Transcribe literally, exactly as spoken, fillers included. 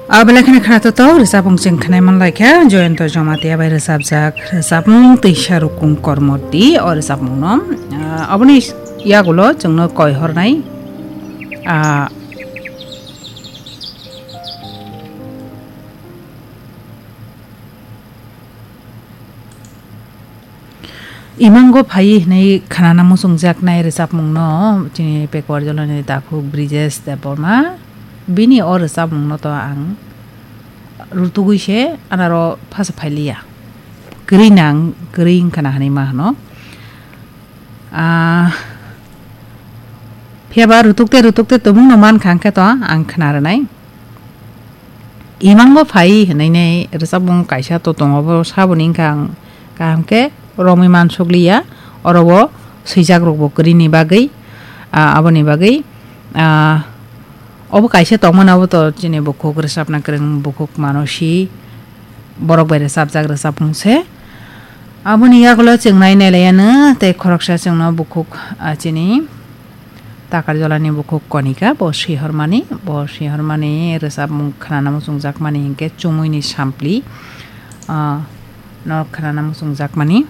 Abelai kheno khwnathok rwchapmung chwng khwnai manlaikha, Joyonto Jamatia bai rwchapjak rwchapmung Twisa Rukung Kormoti o rwchapmungno. Ah, aboni yagulo chwngno koi hornai, ah, Imango phai hwnwi khwnana muchungjaknai rwchapmungno chini Pekwarjolani takhuk Brijesh Debbarma. Bini o rwchapmungno to ang rutugwi se anaro phasa phailiya. Kwrwi nang, kwrwi wngkha na hwnwi ma hwno. Ah, phiya ba rutuk te, rutuk te tongmungno mankha hwnkhe to ang khwna rwnai. Imang bo phai hinui nei rwchapmung kaisa to tongo, bo saboni wngkha ang kaham khe romwi mansukliya, oro bo swijak rok bo kwrwini bagwi, ah, aboni bagwi, ah, obo kaisa tongmani, obo to chini bukhuk rwchapna kwrwng, bukhuk mano si borok bai rwchapjak rwchapmung se. Aboni yagulo chwng nai nai laiya no tei khoroksa chwngno bukhuk, ah, chini Takarjolani bukhuk Konika, bo sihormani, bo sihormani rwchapmung khwnana muchungjakmani hinkhe Chumuini Sampli, ah, no khwnana muchungjakmani.